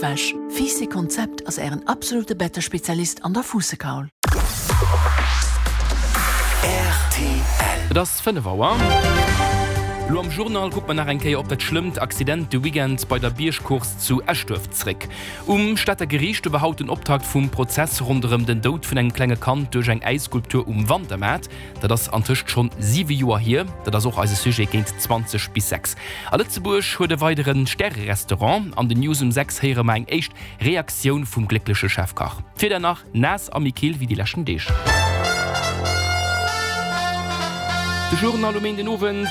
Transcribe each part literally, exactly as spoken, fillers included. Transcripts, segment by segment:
Bettwäsch. Fiiss Konzept ass ären absolute Bettespezialist an der Fuussekaul. Et ass fënnef Auer. Lo am Journal kucke mer nach eng Kéier op dat schlëmmt Accident de Weekend bei der Biergcourse zu Eschduerf zréck. Um Stater Geriicht war haut den Optakt vum Prozess ronderëm den Doud vun engem klenge Kand duerch eng Äisskulptur um Wantermaart. Dat ass antëscht schonn siwe Joer hier. Dat ass och eise Sujet géint zwanzeg bis sechs. A Lëtzebuerg huet e weidere Stärerestaurant. An den News um sechs héiere mer eng éischt Reaktioun vum gléckleche Chefkach. D'Wieder nach naass a méi kill wéi déi leschten Deeg. De Journal um een den Owend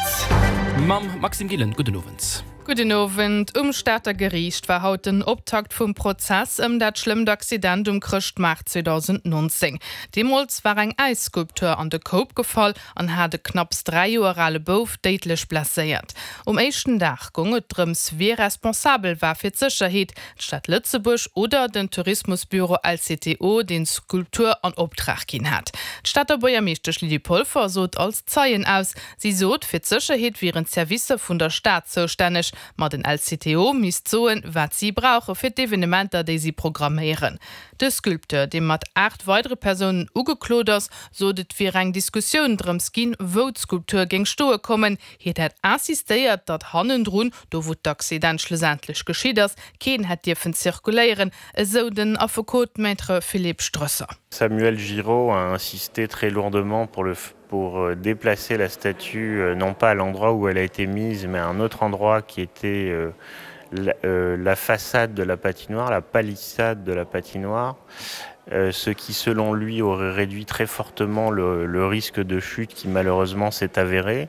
mam Maxime Gillen. Gudden Owend. Gudden Owend. Um Stater Geriicht war haut den Optakt vum Prozess ëm dat schlëmmt Accident um Chrëschtmaart zweedausendnonzéng. Deemools war eng Äisskulptur an de Koup gefall an hat e knapps dräi Joer ale Bouf déidlech blesséiert. Um éischten Dag goung et drëms, wie responsabel war fir d'Sécherheet, d'Stad Lëtzebuerg oder den Tourismusbüro L C T O, deen d'Skulptur an Optrag ginn hat. D'Stater Buergermeeschtesch Lydie Polfer sot als Zeien aus. Si sot, fir d'Sécherheet wieren d'Servicer vun der Stad zoustänneg, ma den L C T O misst soen, wat si brauche fir d'Evenementer, déi si programméieren. De Sculpteur, dee mat aacht weidere Persounen ugeklot ass, sot, et wier eng Diskussioun drëms ginn, wou d'Skulptur géing stoe kommen. Hien hätt insistéiert, datt hannendrun, do wou d'Accident schlussendlech geschitt ass, keen hätt dierfen zirkuléieren, esou den Affekot Maître Philippe Strösser. Samuel Giraud a insisté très lourdement pour le pour déplacer la statue non pas à l'endroit où elle a été mise, mais à un autre endroit qui était la, euh, la façade de la patinoire, la palissade de la patinoire, euh, ce qui selon lui aurait réduit très fortement le, le risque de chute qui malheureusement s'est avéré.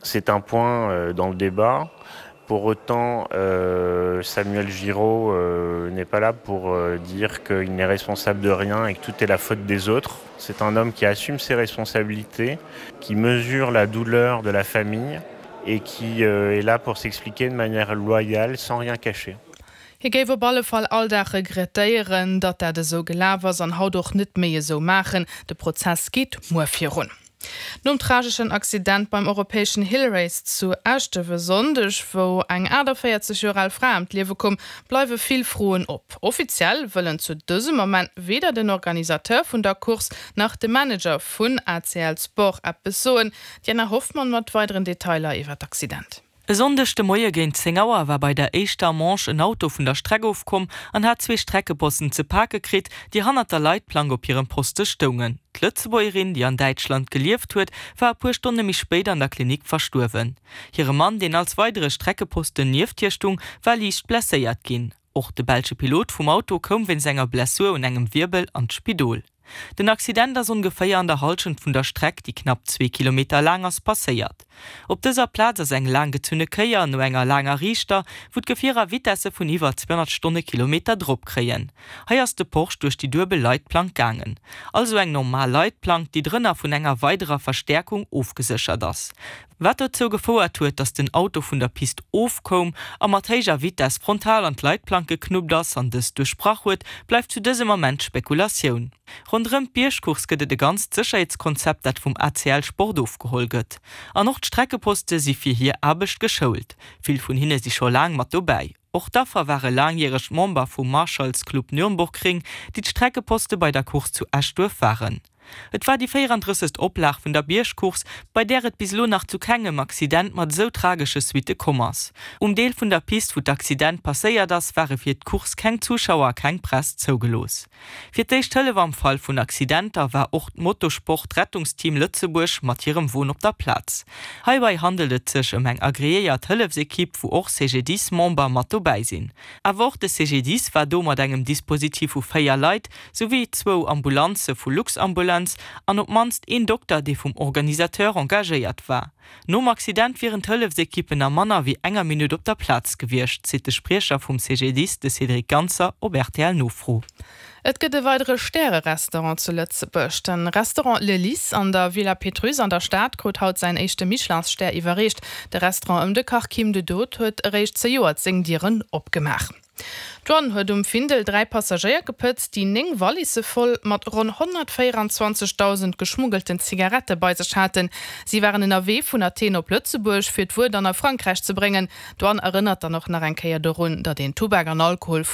C'est un point euh, dans le débat. Pour autant, euh, Samuel Giraud euh, n'est pas là pour euh, dire qu'il n'est responsable de rien et que tout est la faute des autres. C'est un homme qui assume ses responsabilités, qui mesure la douleur de la famille et qui euh, est là pour s'expliquer de manière loyale, sans rien cacher. Hie géif op alle Fall all Dag regrettéieren, datt dat esou gelaf ass an haut och net méi esou maachen. De Prozess geet muer virun. Nom trageschen Accident beim europäeschen Hill Race zu Eschduerf e Sonndeg, wou eng achteenvéierzeg Joer al Fra ëm d'Liewe koum, bleiwe vill Froen op. Offiziell wëllen zu dësem Moment weder den Organisateur vun der Course nach de Manager vun A C L Sport eppes soen. D'Diana Hoffmann mat weideren Detailer iwwer d'Accident. E Sonndeg de Moie géint zéng Auer war bei der éischter Manche en Auto vun der Streck ofkomm an hat zwee Streckeposten ze pake kritt, déi hannert der Leitplank op hirem Poste stoungen. D'Lëtzebuergerin, déi an Däitschland gelieft huet, war e puer Stonne méi spéit an der Klinik verstuerwen. Hire Mann, deen als weidere Streckeposten nieft hir stoung, war liicht blesséiert ginn. Och de belsche Pilot vum Auto koum wéinst enger Blessur un engem Wierbel an d'Spidol. Den Accident ass ongeféier an der Hallschent vun der Streck, déi knapp zwee Kilometer laang ass, passéiert. Op dëser Plaz ass eng laanggezunne Kéier no enger laanger Riichter, wou d'Gefierer Vitesse vun iwwer zweehonnert Stonnekilometer drop kréien. Hei ass de Porsche duerch déi duebel Leitplank gaangen. Also eng normal Leitplank, déi drënner vun enger weiderer Verstäerkung ofgeséchert ass. Wat dozou gefouert huet, datt den Auto vun der Pist ofkoum a mat héijer Vitess frontal an d'Leitplank geknuppt ass an dës duerchbrach huet, bleift zu dësem Ament Spekulatioun. Ronderëm d'Biergcourse gëtt et e ganzt Sécherheetskonzept, dat vum A C L Sport ofgeholl gëtt. An och d'Streckeposte si fir hir Aarbecht geschoult. Vill vun hinne si scho laang mat dobäi. Och d'Affer ware laangjäreg Member vum Marshals Club Nürnbergring, déi d'Streckeposte bei der Course zu Eschduerf waren. Et war déi véierandrëssegst Oplag vun der Biergcourse, bei där et bis elo nach zu kengem Accident mat esou tragesche Suitte komm ass. Um Deel vun der Pist, wou d'Accident passéiert ass, ware fir d'Course keng Zuschauer a keng Press zougelooss. Fir d'éischt Hëllef am Fall vun Accidenter war och d'Motosport-Rettungsteam Lëtzebuerg mat hirem Won op der Plaz. Heibäi handelt et sech ëm eng agreéiert Hëllefsekipp, wou och C G D I S-Member mat dobäi sinn. Awer och de C G D I S war do mat engem Dispositif vu véier Leit, souwéi zwou Ambulanze vu Luxambulance an op d'mannst een Dokter, dee vum Organisateur engagéiert war. Nom Accident wieren d'Hëllefsekippen a manner wéi enger Minutt op der Plaz gewiescht, seet de Spriecher vum C G D I S, de Cédric Ganser, op R T L-Nofro. Et gëtt e weidere Stärerestaurant zu Lëtzebuerg. De Restaurant Le Lys an der Villa Pétrusse an der Stad krut haut säin éischte Michelin-Stär iwwerreecht. De Restaurant ëm de Kach Kim de Dood huet eréischt zejoert seng Dieren opgemaach. D'Douane huet um Findel dräi Passagéier gepëtzt, déi néng Wallisse voll mat ronn honnertvéierenzwanzegdausend geschmuggelten Zigarette bei sech haten. Si waren ënnerwee vun Athen op Lëtzebuerg, fir d'Wuer dann a Frankräich ze bréngen. D'Douane erënnert dann och nach eng Kéier dorun, datt een Tubak an Alkohol vun